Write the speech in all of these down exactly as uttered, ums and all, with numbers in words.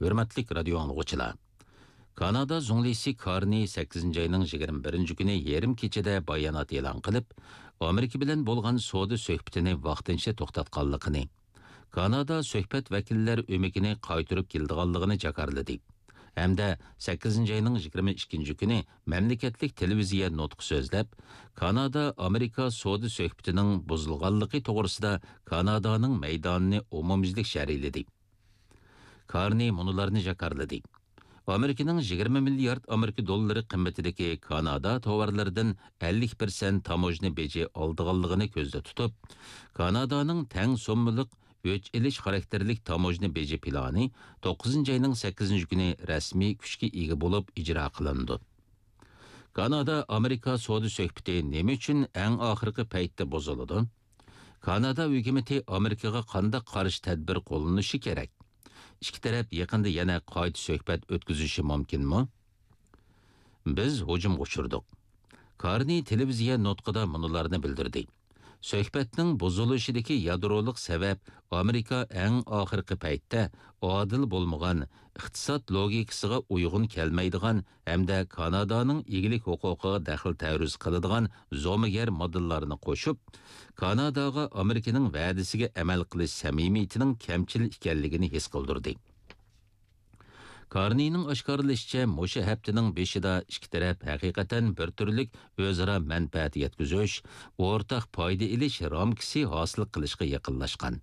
ھۆرمەتلىك رادىيو ئاڭلىغۇچىلار! كانادا زۇڭلىسى كارنى سەككىزىنچى ئاينىڭ يىگىرمە بىرىنچى كۈنى يېرىم كېچىدە بايانات ئېلان قىلىپ، ئامېرىكا بىلەن بولغان سودا سۆھبىتىنى ۋاقتىنچە توختاتقانلىقىنى، كانادا سۆھبەت ۋەكىللەر ئۆمىكىنى قايتۇرۇپ كېلىدىغانلىقىنى جاكارلىدى ھەمدە سەككىزىنچى ئاينىڭ يىگىرمە ئىككىنچى كۈنى مەملىكەتلىك تېلېۋىزىيە نۇتقى سۆزلەپ، كانادا ئامېرىكا سودا سۆھبىتىنىڭ بۇزۇلغانلىقى توغرىسىدا كانادانىڭ مەيدانىنى ئومۇميۈزلۈك شەرھلىدى. كارنى مۇنۇلارنى جاكارلىدى: ئامېرىكىنىڭ يىگىرمە مىليارد ئامېرىكا دوللىرى قىممىتىدىكى كانادا تاۋارلىرىدىن ئەللىك پىرسەنت تاموژنا بېجى ئالىدىغانلىقىنى كۆزدە تۇتۇپ، كانادانىڭ تەڭ سوممىلىق ئۆچ ئېلىش خاراكتېرلىك تاموژنا بېجى پىلانى توققۇزىنچى ئاينىڭ سەككىزىنچى كۈنى رەسمىي كۈچكە ئىگە بولۇپ ئىجرا قىلىنىدۇ. كانادا-ئامېرىكا سودا سۆھبىتى نېمە ئۈچۈن ئەڭ ئاخىرقى پەيتتە بۇزۇلىدۇ؟ كانادا ھۆكۈمىتى ئامېرىكىغا قانداق قارشى تەدبىر قوللىنىشى كېرەك؟ ئىككى تەرەپ يېقىندا يەنە قايتا سۆھبەت ئۆتكۈزۈشى مۇمكىنمۇ؟ بىز ھۇجۇمغا ئۇچرىدۇق. كارنى تېلېۋىزىيە نۇتقىدا مۇنۇلارنى بىلدۈردى: سۆھبەتنىڭ بۇزۇلۇشىدىكى يادرولۇق سەۋەب ئامېرىكا ئەڭ ئاخىرقى پەيتتە ئادىل بولمىغان، ئىقتىساد لوگىكىسىغا ئۇيغۇن كەلمەيدىغان ھەمدە كانادانىڭ ئىگىلىك ھوقۇقىغا دەخلى تەرۇز قىلىدىغان زومىگەر ماددىلارنى قوشۇپ، كاناداغا ئامېرىكىنىڭ ۋەدىسىگە ئەمەل قىلىش سەمىمىيىتىنىڭ كەمچىل ئىكەنلىكىنى ھېس قىلدۇردى. كارنىنىڭ ئاشكارىلىشىچە، مۇشۇ ھەپتىنىڭ بېشىدا ئىككى تەرەپ ھەقىقەتەن بىر تۈرلۈك ئۆزئارا مەنپەئەت يەتكۈزۈش، ئورتاق پايدا ئېلىش رامكىسى ھاسىل قىلىشقا يېقىنلاشقان.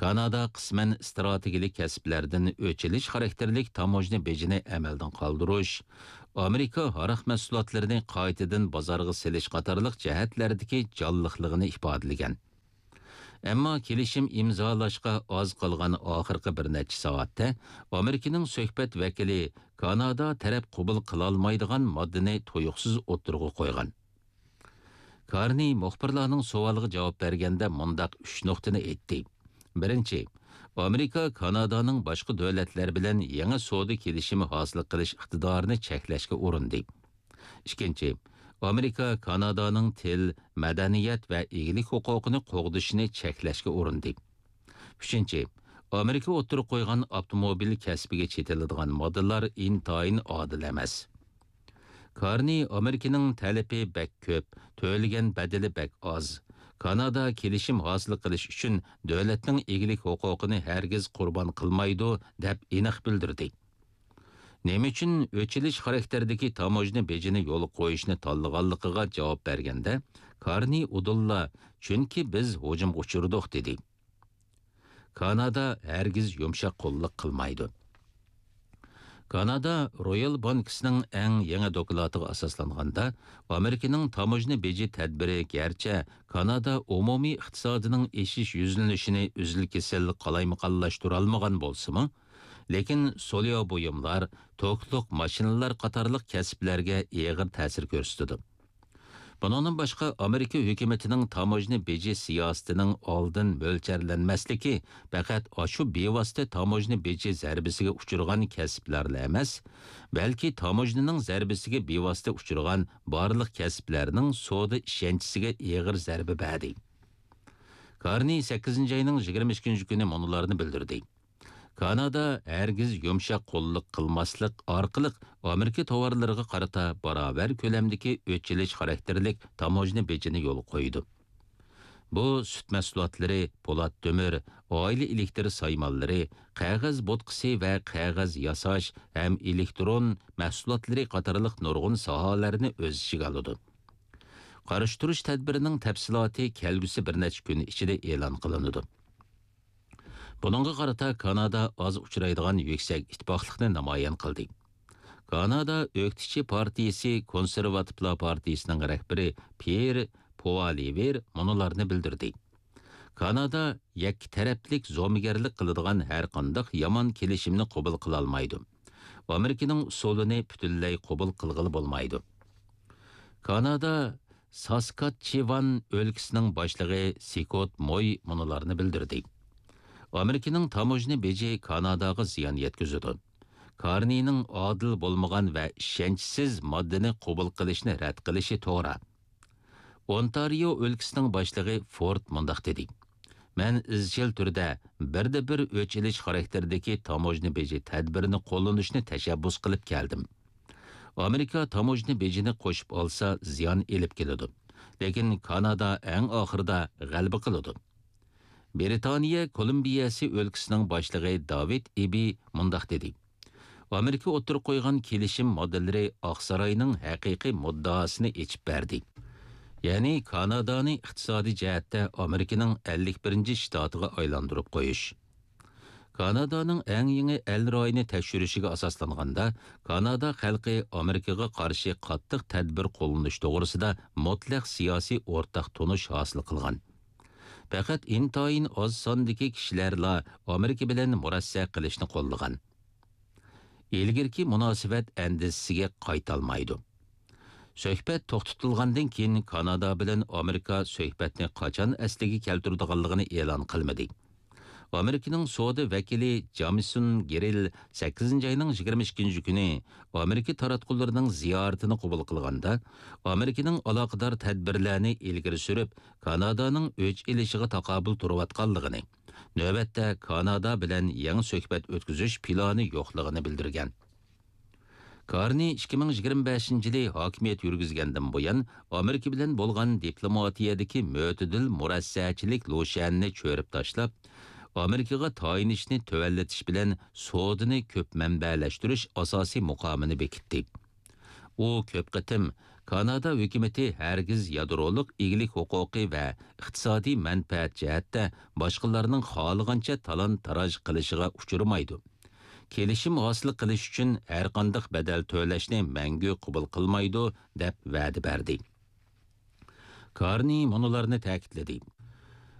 كانادا قىسمەن ئىستراتېگىيەلىك كەسىپلەردىن ئۆچ ئېلىش خاراكتېرلىك تاموژنا بېجىنى ئەمەلدىن قالدۇرۇش، ئامېرىكا ھاراق مەھسۇلاتلىرىنى قايتىدىن بازارغا سېلىش قاتارلىق جەھەتلەردىكى جانلىقلىقىنى ئىپادىلىگەن. ئەمما كېلىشىم ئىمزالاشقا ئاز قالغان ئاخىرقى بىر نەچچە سائەتتە ئامېرىكىنىڭ سۆھبەت ۋەكىلى كانادا تەرەپ قوبۇل قىلالمايدىغان ماددىنى تۇيۇقسىز ئوتتۇرىغا قويغان. كارنى مۇخبىرلارنىڭ سوئالىغا جاۋاب بەرگەندە مۇنداق ئۈچ نۇقتىنى ئېيتتى. بىرىنچى، ئامېرىكا كانادانىڭ باشقا دۆلەتلەر بىلەن يېڭى سودا كېلىشىمى ھاسىل قىلىش ئىقتىدارىنى چەكلەشكە ئۇرۇندى. ئىككىنچى، ئامېرىكا كانادانىڭ تىل، مەدەنىيەت ۋە ئىگىلىك ھوقۇقىنى قوغدىشىنى چەكلەشكە ئۇرۇندى. ئۈچىنچى، ئامېرىكا ئوتتۇرىغا قويغان ئاپتوموبىل كەسپىگە چېتىلىدىغان ماددىلار ئىنتايىن ئادىل ئەمەس. كارنى ئامېرىكىنىڭ تەلىپى بەك كۆپ، تۆلىگەن بەدىلى بەك ئاز. كانادا كېلىشىم ھاسىل قىلىش ئۈچۈن دۆلەتنىڭ ئىگىلىك ھوقۇقىنى ھەرگىز قۇربان قىلمايدۇ، دەپ ئېنىق بىلدۈردى. نېمە ئۈچۈن ئۆچ ئېلىش خاراكتېرىدىكى تاموژنا بېجىنى يولغا قويۇشنى تاللىغانلىقىغا جاۋاب بەرگەندە، كارنى ئۇدۇللا، چۈنكى بىز ھۇجۇمغا ئۇچرىدۇق، دېدى. كانادا ھەرگىز يۇمشاق قوللۇق قىلمايدۇ. كانادا رويال بانكىسىنىڭ ئەڭ يېڭى دوكلاتىغا ئاساسلانغاندا، ئامېرىكىنىڭ تاموژنا بېجى تەدبىرى گەرچە كانادا ئومۇمىي ئىقتىسادىنىڭ ئېشىش يۈزلىنىشىنى ئۈزۈل-كېسىل قالايمىقانلاشتۇرالمىغان بولسىمۇ، لېكىن سولياۋ بۇيۇملار، توكلۇق ماشىنىلار قاتارلىق كەسىپلەرگە ئېغىر تەسىر كۆرسىتىدۇ. بۇنىڭدىن باشقا، ئامېرىكا ھۆكۈمىتىنىڭ تاموژنا بېجى سىياسىتىنىڭ ئالدىن مۆلچەرلەنمەسلىكى پەقەت ئاشۇ بىۋاسىتە تاموژنا بېجى زەربىسىگە ئۇچرىغان كەسىپلەرلا ئەمەس، بەلكى تاموژنىنىڭ زەربىسىگە بىۋاسىتە ئۇچرىغان بارلىق كەسىپلەرنىڭ سودا ئىشەنچىسىگە ئېغىر زەربە بەردى. كارنى سەككىزىنچى ئاينىڭ يىگىرمە ئىككىنچى كۈنى مۇنۇلارنى بىلدۈردى. كانادا ھەرگىز يۇمشاق قوللۇق قىلماسلىق ئارقىلىق ئامېرىكا تاۋارلىرىغا قارىتا باراۋەر كۆلەمدىكى ئۆچ ئېلىش خاراكتېرلىك تاموژنا بېجىنى يولغا قويىدۇ. بۇ سۈت مەھسۇلاتلىرى، پولات تۆمۈر، ئائىلە ئېلېكتىر سايمانلىرى، قەغەز بوتقىسى ۋە قەغەز ياساش ھەم ئېلېكترون مەھسۇلاتلىرى قاتارلىق نۇرغۇن ساھەلەرنى ئۆز ئىچىگە ئالىدۇ. قارشى تۇرۇش تەدبىرىنىڭ تەپسىلاتى كەلگۈسى بىر نەچچە كۈن ئىچىدە ئېلان قىلىنىدۇ. بۇنىڭغا قارىتا كانادا ئاز ئۇچرايدىغان يۈكسەك ئىتتىپاقلىقنى نامايان قىلدى. كانادا ئۆكتىچى پارتىيىسى كونسېرۋاتىپلار پارتىيىسىنىڭ رەھبىرى پيېر پوئالىۋېر مۇنۇلارنى بىلدۈردى: كانادا يەككە تەرەپلىك زومىگەرلىك قىلىدىغان ھەرقانداق يامان كېلىشىمنى قوبۇل قىلالمايدۇ. ئامېرىكىنىڭ ئۇسۇلىنى پۈتۈنلەي قوبۇل قىلغىلى بولمايدۇ. كانادا ساسكاتچېۋان ئۆلكىسىنىڭ باشلىقى سكوت موي مۇنۇلارنى بىلدۈردى: ئامېرىكىنىڭ تاموژنا بېجى كاناداغا زىيان يەتكۈزىدۇ. كارنىنىڭ ئادىل بولمىغان ۋە ئىشەنچسىز ماددىنى قوبۇل قىلىشنى رەت قىلىشى توغرا. ئونتارىيو ئۆلكىسىنىڭ باشلىقى فورد مۇنداق دېدى: مەن ئىزچىل تۈردە بىردە بىر ئۆچ ئېلىش خاراكتېرىدىكى تاموژنا بېجى تەدبىرىنى قوللىنىشنى تەشەببۇس قىلىپ كەلدىم. ئامېرىكا تاموژنا بېجىنى قوشۇپ ئالسا، زىيان ئېلىپ كېلىدۇ. لېكىن كانادا ئەڭ ئاخىرىدا غەلىبە قىلىدۇ. برىتانىيە كولومبىيەسى ئۆلكىسىنىڭ باشلىقى داۋىد ئىبى مۇنداق دېدى: ئامېرىكا ئوتتۇرىغا قويغان كېلىشىم ماددىلىرى ئاقساراينىڭ ھەقىقىي مۇددىئاسىنى ئېچىپ بەردى. يەنى كانادانى ئىقتىسادىي جەھەتتە ئامېرىكىنىڭ ئەللىك بىرىنچى شتاتىغا ئايلاندۇرۇپ قويۇش. كانادانىڭ ئەڭ يېڭى ئەل رايىنى تەكشۈرۈشىگە ئاساسلانغاندا، كانادا خەلقى ئامېرىكىغا قارشى قاتتىق تەدبىر قوللىنىش توغرىسىدا مۇتلەق سىياسىي ئورتاق تونۇش ھاسىل قىلغان. پەقەت ئىنتايىن ئاز ساندىكى كىشىلەرلا ئامېرىكا بىلەن مۇرەسسە قىلىشنى قوللىغان. ئىلگىرىكى مۇناسىۋەت ئەندىزىسىگە قايتالمايدۇ. سۆھبەت توختىتىلغاندىن كېيىن، كانادا بىلەن ئامېرىكا سۆھبەتنى قاچان ئەسلىگە كەلتۈرىدىغانلىقىنى ئېلان قىلمىدى. ئامېرىكىنىڭ سودا ۋەكىلى جامىسون گېرىل سەككىزىنچى ئاينىڭ يىگىرمە ئىككىنچى كۈنى ئامېرىكا تاراتقۇلىرىنىڭ زىيارىتىنى قوبۇل قىلغاندا، ئامېرىكىنىڭ ئالاقىدار تەدبىرلەرنى ئىلگىرى سۈرۈپ، كانادانىڭ ئۆچ ئېلىشىغا تاقابىل تۇرۇۋاتقانلىقىنى، نۆۋەتتە كانادا بىلەن يېڭى سۆھبەت ئۆتكۈزۈش پىلانى يوقلۇقىنى بىلدۈرگەن. كارنى ئىككى مىڭ يىگىرمە بەشىنچى يىلى ھاكىمىيەت يۈرگۈزگەندىن بۇيان، ئامېرىكا بىلەن بولغان دىپلوماتىيەدىكى مۆتىدىل مۇرەسسەچىلىك لۇشيەننى چۆرۈپ تاشلاپ، ئامېرىكىغا تايىنىشنى تۆۋەنلىتىش بىلەن سودىنى كۆپ مەنبەلەشتۈرۈش ئاساسىي مۇقامىنى بېكىتتى. ئۇ كۆپ قېتىم كانادا ھۆكۈمىتى ھەرگىز يادرولۇق ئىگىلىك ھوقۇقى ۋە ئىقتىسادىي مەنپەئەت جەھەتتە باشقىلارنىڭ خالىغانچە تالان-تاراج قىلىشىغا ئۇچرىمايدۇ. كېلىشىم ھاسىل قىلىش ئۈچۈن ھەرقانداق بەدەل تۆلەشنى مەڭگۈ قوبۇل قىلمايدۇ، دەپ ۋەدە بەردى. كارنى مۇنۇلارنى تەكىتلىدى: